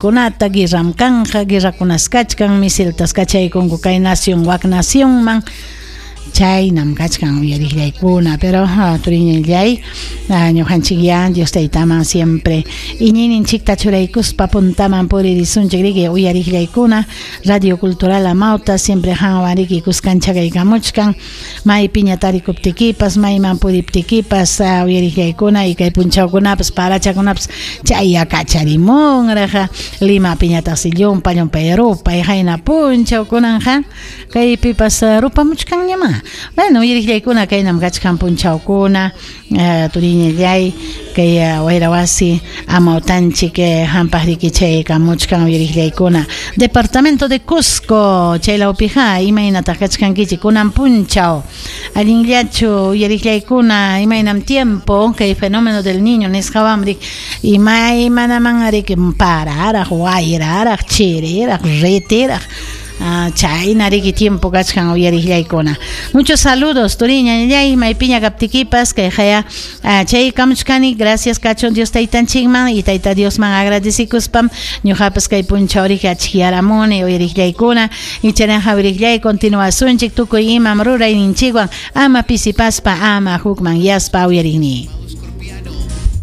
Kunata guerram kanqa, guerrakunas kachkan, misiltas kachaykunku kay nación wak nacionman. Chaynam kachkan uyariqllaykuna, pero turiñallay, ñuqanchikyá Dios Taytaman siempre iñiyninchikta churaykuspa puntaman puririsunchik riki uyariqllaykuna. Radio Cultural Amauta siempre qanwan riki kuskanchakaykamuchkan. Maypiña tarikuptikipas, mayman puriptikipas, uyariqllaykuna y kay punchawkunapas, parachakunapas chaya kacharimunraq. Limapiñataqsi llumpa llumpay rupay qayna punchawkunanqa kaypipas rupamuchkanñamá. Bueno, uyariqllaykuna kaynam kachkan punchawkuna, turiñallay, kay wayra wasi amawtanchik hampaq riki chaykamuchkan uyariqllaykuna. Departamento de Cusco, chaylawpiqa imaynataq kachkankichik kunan punchaw. Allinllachu uyariqllaykuna, imaynam tiempo kay fenómeno del niño nisqawanri imaymanaman riki pararaq, wayraraq, chiriraq, ritiraq. Chayna riki tiempo kachkan uyariqllaykuna. Muchos saludos turiñallay, maypiña kaptikipas kay haya chay kamuchkani, gracias kachun Dios Taytanchikman y Tayta Diosman agradecikuspam ñuqapas kay punchaw riki achkiyaramuni uyariqllaykuna y chaynaqa uyariqllay continuasunchik tukuy imam rurayninchikwan ama pisipaspa ama hukman yaspa uyariqni.